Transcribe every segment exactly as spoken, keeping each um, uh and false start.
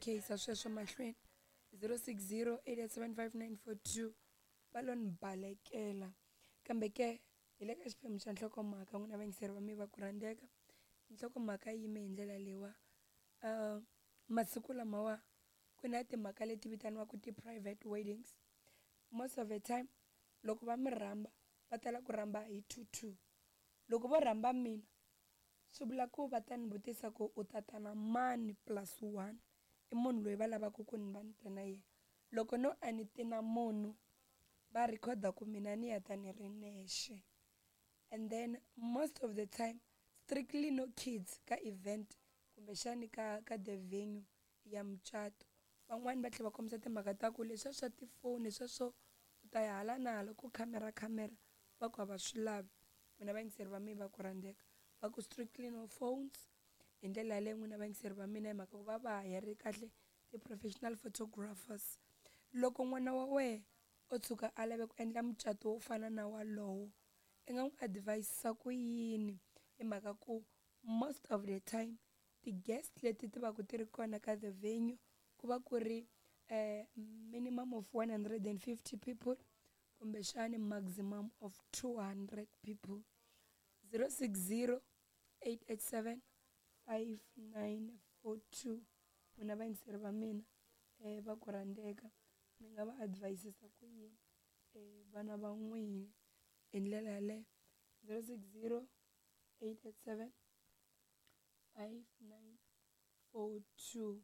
khe yisa sweswo mahlweni zero six zero eight eight seven five nine four two va lo ni balekela kambe ke hi le ka xiphemu xa nhlokomhaka n'wina vayingiseri va mi va ku rhandzeka nhlokomhaka yi yime hi ndlela leyiwa um masiku lamawa ku na timhaka leti vitaniwaka ti-private weddings most of the time loko va mi rhamba va tala ku rhamba hi two two loko vo rhamba mina swi vula ku va ta ni vutisa ku u tata na mani plus one i munhu loyi va lavaka ku ni va ni ta na yena loko no a ni ti na munhu va rhikhoda ku mina ni ya ta ni ri nexe and then most of the time strictly no kids ka event kumbexani ka ka the venue ya mucato van'wani va tlhela va kombisa timhaka ta ku leswiya swa tifoni leswiya swo u ta ya hala na hala ku khamera khamera va ku a va swi lavi n'wina vayingiseri va mina va ku rhandzeka va ku strictly no phones hi ndlela yaleyo n'wina vayingiseri va mina hi mhaka ku va va hayari kahle ti-professional photographers loko n'wana wa wena o tshuka a lave ku endla mucato wo fana na walowo i nga n'wi advise ku yini hi mhaka ku most of the time ti-guest leti ti va ku ti ri kona ka the venue ku va ku ri eh, minimum of one hundred and fifty people kumbexani maximum of two hundred people zero six zero eight eight seven five nine four two n'wina vayingiseri va mina um va ku rhandzeka mi nga va advisisa ku yini um vana va n'wina hi ndlela yaleyo zero six zero eight eight seven five nine four two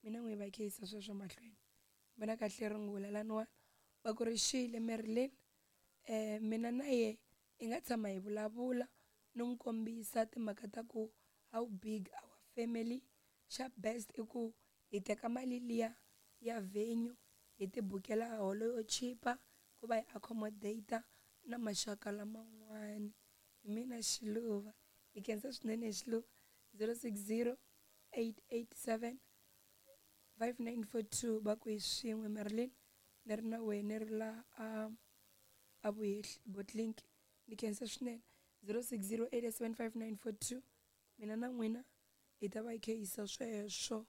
mina n'wi va kheyisa sweswo mahlweni vona kahle rungula laniwani va ku ri xile Marilyn um mina na ye hi nga tshama hi vulavula no n'wi kombisa timhaka ta ku how big our family xa best i ku hi teka mali liya ya venue hi ti bukela holo yo chipa ku va hi accommodate na maxaka laman'wani hi mina Xiluva hi khensa swinene Xiluva zero six zero eight eight seven five nine four two va ku hi swin'we Marilyn ni ri na wehe ni ri la a a vuhehli Botlink ni khensa swinene zero six zero eight seven five nine four two mina na n'wina hi ta va hi kha hi yisa sweswo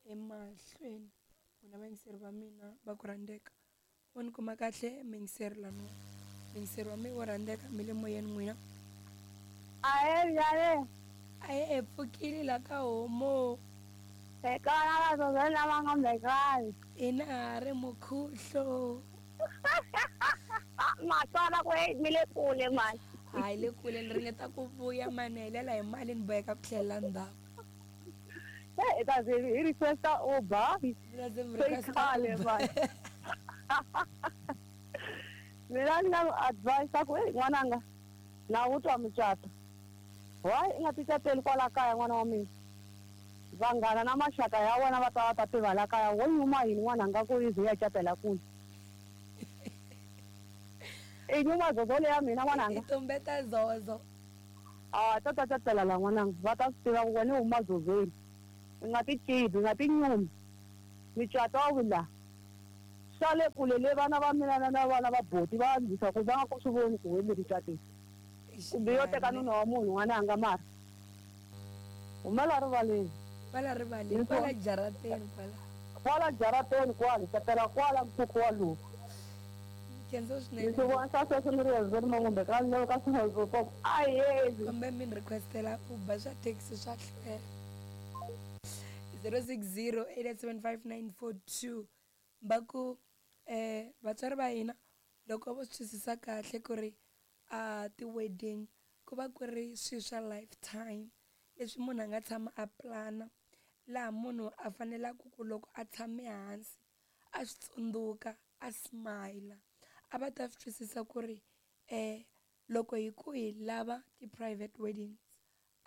emahlweni n'wina vayingiseri va mina va ku rhandzeka wo ni kuma kahle muyingiseri laniwa muyingiseri wa mina wo rhandzeka mi le moyeni n'wina Ahe njhani? a hi pfukile la ka homo Hi kona vazozo lava nga mbekani. hina ha ri mukhuhlo Matswala ku hey mi le kule mani. hayi le kule ni ringeta ku vuya mani helela hi mali ni boheka ku tlhelela ndzhaku Hey, ta ze hi requesta Uber. Mina ze mi Se request-a khale Uber. mani. Mina ni nga n'wi advise ku hey n'wananga na wu twa mucato. Why i nga ti cateli kwala kaya n'wana wa mina? Vanghana na maxaka ya wena va ta va ta tiva la kaya wo nyuma yini n'wananga ku yi ze ya catela kule. I nyuma zozo leya mina n'wananga. I tumbeta zozo A ta ta catela la n'wananga va ta swi tiva ku wena u huma zozweni. I nga ti cibi, i nga ti nyumi. Micato a wu la. Swa le kule le vana va mina na na vana va boti va andzisa ku va nga ku swi voni ku we mi ri cateni. Kumbe yo teka nuna wa munhu n'wananga mara. Humela rivaleni. kwala rivaleni Hi kwala swona. jarateni kwala Kwala jarateni kwala, catela kwala mkhukhu walowu. khensa Ni swinene swi vona swa sweswo ni ri yezo ni mangombe ka ni ka swi ahezi. kumbe mi ni requestela Uber swa taxi swa hlwela zero six zero eight seven five nine four two va ku eh vatswari va hina loko vo swi twisisa kahle ku ri a ti-wedding ku va ku ri swilo swa lifetime leswi munhu a nga tshama a plana laha munhu a fanelaka ku loko a tshame hansi a swi tsundzuka a smile a va ta swi twisisa ku ri eh loko hi ku hi lava ti-private weddings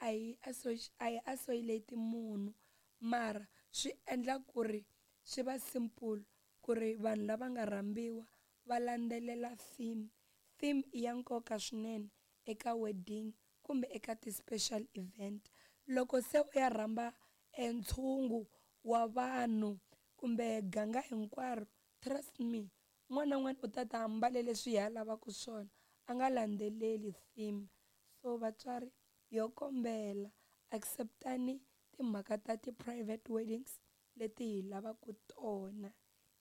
a hi a hi isolate munhu mara swi endla ku ri swi va simple ku ri vanhu lava nga rhambiwa va landzelela theme theme i ya nkoka swinene eka wedding kumbe eka ti-special event loko se u ya rhamba e ntshungu wa vanhu kumbe ganga hinkwaro trust me un'wana na un'wana u ta ta ambale leswi hi a lavaka swona a nga landzeleli theme so vatswari yo kombela acceptani timhaka ta ti-private weddings leti hi lavaka tona.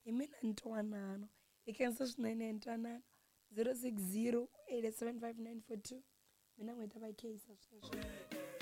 Hi mina Ntwanano. Hi khensa swinene Ntwanano. zero six zero eight seven five nine four two. Mina n'wi ta va kheyisa sweswo.